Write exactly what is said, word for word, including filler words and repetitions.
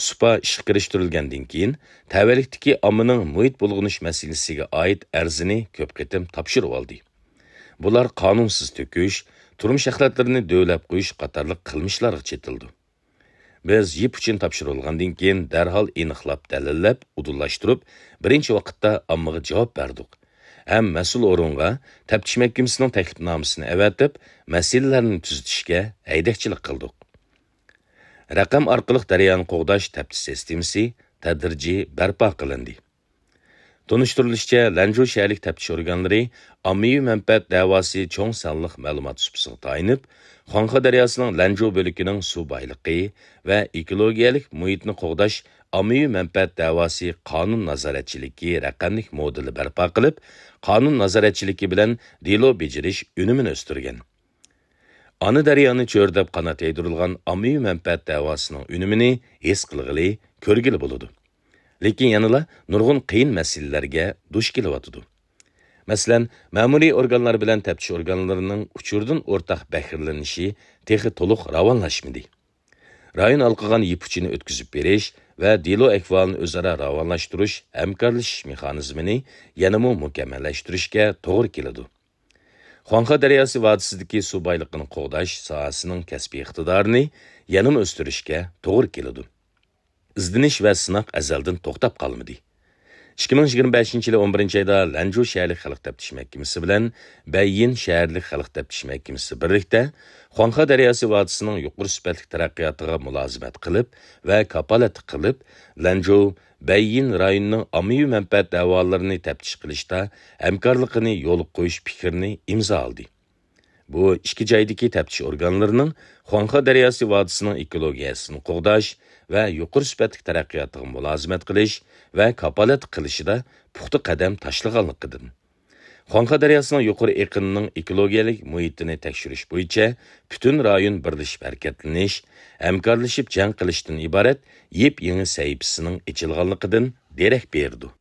سۇپا ئىشقا كىرىشتۈرۈلگەندىن كېيىن، تەۋەلىكتىكى ئاممىنىڭ مۇھىت بۇلغىنىش مەسىلىسىگە ئائىت ئەرزىنى كۆپ قېتىم تاپشۇرۇۋالدى. بۇلار قانۇنسىز تۆكۈش، تۇرمۇش ئەخلەتلىرىنى دۆۋىلەپ قويۇش قاتارلىق قىلمىشلارغا چېتىلىدۇ. بىز يىپ ئۇچىنى تاپشۇرۇۋالغاندىن كېيىن، دەرھال ئېنىقلاپ، دەلىللەپ، ئۇدۇللاشتۇرۇپ، بىرىنچى ۋاقىتتا ئاممىغا جاۋاب بەردۇق ھەم مەسئۇل ئورۇنغا تەپتىش مەھكىمىسىنىڭ تەكلىپنامىسىنى ئەۋەتىپ، مەسىلىلەرنى تۈزىتىشكە ھەيدەكچىلىك قىلدۇق. رەقەم ئارقىلىق دەريانى قوغداش تەپتىش سىستېمىسى تەدرىجىي بەرپا قىلىندى. تونۇشتۇرۇلۇشىچە، لەنجۇ شەھەرلىك تەپتىش ئورگانلىرى ئاممىۋى مەنپەئەت دەۋاسى چوڭ سانلىق مەلۇمات سۇپىسىغا تايىنىپ، خۇاڭخې دەرياسىنىڭ لەنجۇ بۆلىكىنىڭ سۇ بايلىقى ۋە ئېكولوگىيەلىك مۇھىتنى قوغداش ئاممىۋى مەنپەئەت دەۋاسى قانۇن نازارەتچىلىكى رەقەملىك مودېلى بەرپا قىلىپ، قانۇن نازارەتچىلىكى بىلەن دېلو بېجىرىش ئۈنۈمىنى ئۆستۈرگەن. ئانا دەريانى چۆرىدەپ قانات يايدۇرۇلغان ئاممىۋى مەنپەئەت دەۋاسىنىڭ ئۈنۈمىنى ھېس قىلغىلى، كۆرگىلى بولىدۇ. لېكىن يەنىلا نۇرغۇن قىيىن مەسىلىلەرگە دۇچ كېلىۋاتىدۇ. مەسىلەن، مەمۇرىي ئورگانلار بىلەن تەپتىش ئورگانلىرىنىڭ ئۇچۇردىن ئورتاق بەھرىلىنىشى تېخى تولۇق راۋانلاشمىدى. رايون ھالقىغان يىپ ئۇچىنى ئۆتكۈزۈپ بېرىش ۋە دېلو ئەھۋالىنى ئۆزئارا راۋانلاشتۇرۇش، ھەمكارلىشىش مېخانىزمىنى يەنىمۇ مۇكەممەللەشتۈرۈشكە توغرا كېلىدۇ. خۇاڭخې دەرياسى ۋادىسىدىكى سۇ بايلىقىنى قوغداش ساھەسىنىڭ كەسپىي ئىقتىدارىنى يەنىمۇ ئۆستۈرۈشكە توغرا كېلىدۇ. ئىزدىنىش ۋە سىناق ئەزەلدىن توختاپ قالمىدى. ئىككى مىڭ يىگىرمە بەشىنچى يىلى ئون بىرىنچى ئايدا لەنجۇ شەھەرلىك خەلق تەپتىش مەھكىمىسى بىلەن بەييىن شەھەرلىك خەلق تەپتىش مەھكىمىسى بىرلىكتە خۇاڭخې دەرياسى ۋادىسىنىڭ يۇقىرى سۈپەتلىك تەرەققىياتىغا مۇلازىمەت قىلىپ ۋە كاپالەتلىك قىلىپ، لەنجۇ، بەييىن رايونىنىڭ ئاممىۋى مەنپەئەت دەۋالىرىنى تەپتىش قىلىشتا ھەمكارلىقىنى يولغا قويۇش پىكرىنى ئىمزالىدى. بۇ ئىككى جايدىكى تەپتىش ئورگانلىرىنىڭ خۇاڭخې دەرياسى ۋادىسىنىڭ ئېكولوگىيەسىنى قوغداش ۋە يۇقىرى سۈپەتلىك تەرەققىياتىغا مۇلازىمەت قىلىش ۋە كاپالەتلىك قىلىشىدا پۇختا قەدەم تاشلىغانلىقىدىن، خۇاڭخې دەرياسىنىڭ يۇقىرى ئېقىنىنىڭ ئېكولوگىيەلىك مۇھىتىنى تەكشۈرۈش بويىچە پۈتۈن رايون بىرلىشىپ ھەرىكەتلىنىش، ھەمكارلىشىپ جەڭ قىلىشتىن ئىبارەت يېپيېڭى سەھىپىسىنىڭ ئېچىلغانلىقىدىن دېرەك بېرىدۇ.